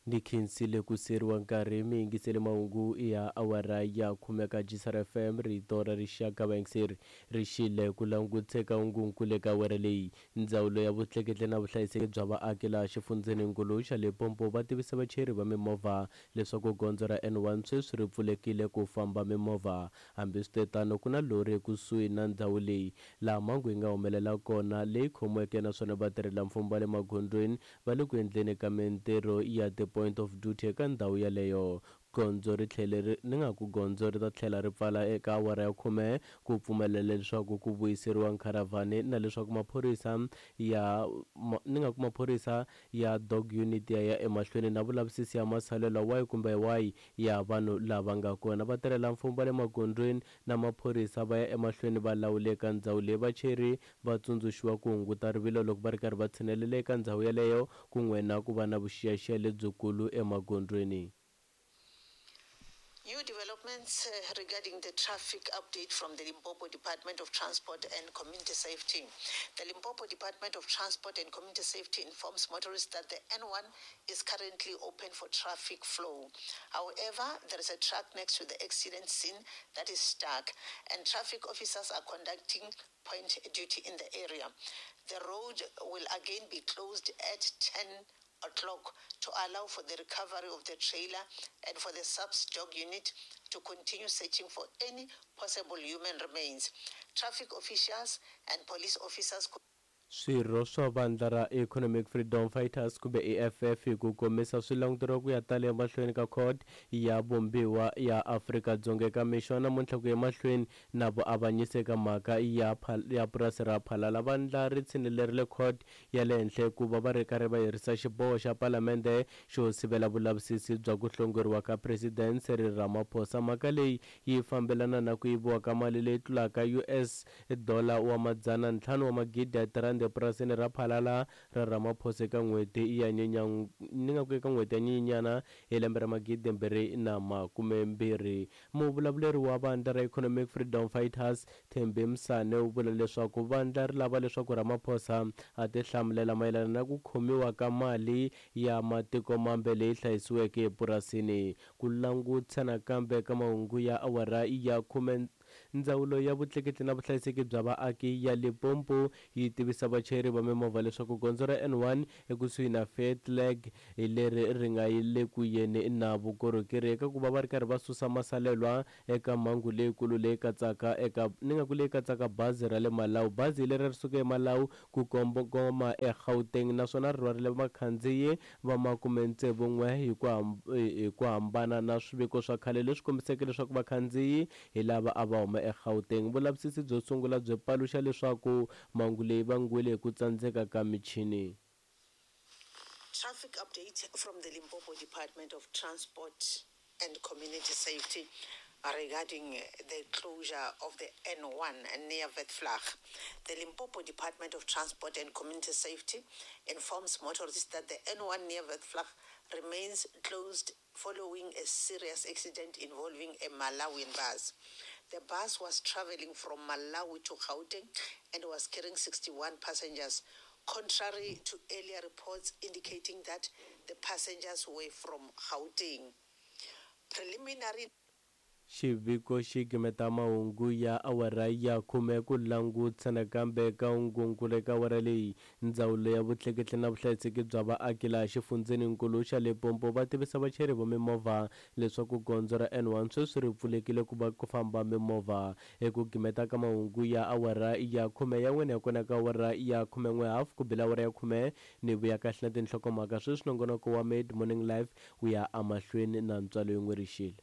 Ni khensile ku siyeriwa nkarhi mi yingisele mahungu ya awara ya khume ka Gisar FM rito ra rixaka vayingiseri ri xile ku languteka hungunkulu eka awara leyi. Ndzawulo ya vutleketli na vuhlayiseki bya vaaki laha xifundzheninkulu xa Limpopo va tivisa vachayeri va mimovha leswaku gondzo ra N1 sweswi ri pfulekile ku famba mimovha. Hambiswitetano ku na lori ekusuhi na ndhawu leyi laha mhangu yi nga humelela kona leyi khomiweke naswona vatirhelamfumo va le magondzweni va le ku endleni ka mintirho ya ti-point of duty eka ndhawu yaleyo. Gondzo ri tlhele ri ni nga ku gondzo ri ta tlhela ri pfala eka awara ya khume ku pfumelela leswaku ku vuyiseriwa nkharavhani na leswaku maphorisa ya ni nga ku maphorisa ya dog unit ya ya emahlweni na vulavisisi ya masalelwa wahi kumbe wahi ya vanhu lava nga kona. Vatirhelamfumo va le magondzweni na maphorisa va ya emahlweni va lawula eka ndhawu leyi. Vachayeri va tsundzuxiwa ku hunguta rivilo loko va ri karhi va tshinelela eka ndhawu yaleyo kun'we na ku va na vuxiyaxiya lebyikulu emagondzweni. New developments regarding the traffic update from the Limpopo Department of Transport and Community Safety. The Limpopo Department of Transport and Community Safety informs motorists that the N1 is currently open for traffic flow. However, there is a truck next to the accident scene that is stuck, and traffic officers are conducting point duty in the area. The road will again be closed at 10 o'clock to allow for the recovery of the trailer and for the SAPS dog unit to continue searching for any possible human remains. Traffic officials and police officers Swirho swa vandla ra Economic Freedom Fighters kumbe EFF hi ku komisa swi languteriwa ku ya tala emahlweni ka Court ya Vumbiwa ya Afrika-Dzonga eka mixo wa namuntlha ku ya emahlweni na vuavanyisi eka mhaka ya ya purasi ra Phalala. Vandla ri tshinelerile court ya le henhla hikuva va ri karhi va herisa xiboho xa palamende xo sivela vulavisisi bya ku hlongoriwa ka President Cyril Ramaphosa. Mhaka leyi yi fambelana na ku yiviwa ka mali leyi tlulaka US dollar wa madzana ntlhanu wa magidi ya tirhandi epurasini ra Phalala ra Ramaphosa eka n'hweti ya ni nga ku eka n'hweti ya Nyenyenyana hi lembe ra 2020. Muvulavuleri wa vandla ra Economic Freedom Fighters, Thembi Msane u vula leswaku vandla ri lava leswaku Ramaphosa a tihlamulela mayelana na ku khomiwa ka mali ya matiko mambe leyi hlayisiweke epurasini. Ku langutisa nakambe ka mahungu ya awara ya khume Ndzawulo ya Vutleketli na Vuhlayiseki bya Vaaki ya Limpopo yi tivisa vachayeri va mimovha leswaku gondzo ra N1 ekusuhi na Fairtlag hi leri ri nga le ku yeni na vukorhokeri eka ku va va ri karhi va susa masalelwa eka mhangu leyikulu leyi katsaka eka ni nga ku leyi katsaka bazi ra le Malawi. Bazi leri ri suke eMalawi ku kongoma eGauteng naswona ri rhwarile vakhandziyi va makume-tsevu-n'we hi ku hi ku hambana na swiviko swa khale leswi kombiseke leswaku vakhandziyi hi lava a va huma eGauteng. Vulavisisi byo sungula byi paluxa leswaku mhangu leyi vangiwile hi ku tsandzeka ka michini. Traffic update from the Limpopo Department of Transport and Community Safety regarding the closure of the N1 near Vetvlag. The Limpopo Department of Transport and Community Safety informs motorists that the N1 near Vetvlag remains closed following a serious accident involving a Malawian bus. The bus was traveling from Malawi to Gauteng and was carrying 61 passengers, contrary to earlier reports indicating that the passengers were from Gauteng. Preliminary Xiviko xi gimeta mahungu ya awara ya khume ku langutisa nakambe ka hungunkulu eka awara leyi. Ndzawulo ya Vutleketli na Vuhlayiseki bya Vaaki laha xifundzheninkulu xa Limpopo va tivisa vachayeri va mimovha leswaku gondzo ra N1 sweswi ri pfulekile ku va ku famba mimovha. Eku gimeta ka mahungu ya awara ya khume ya n'wina ya kona ka awara ya khumen'we hafu ku bile awara ya khume ni vuya kahle na tinhlokomhaka sweswi nongonoko wa Mid Morning Live wu ya emahlweni na ntswalo yin'we rixile.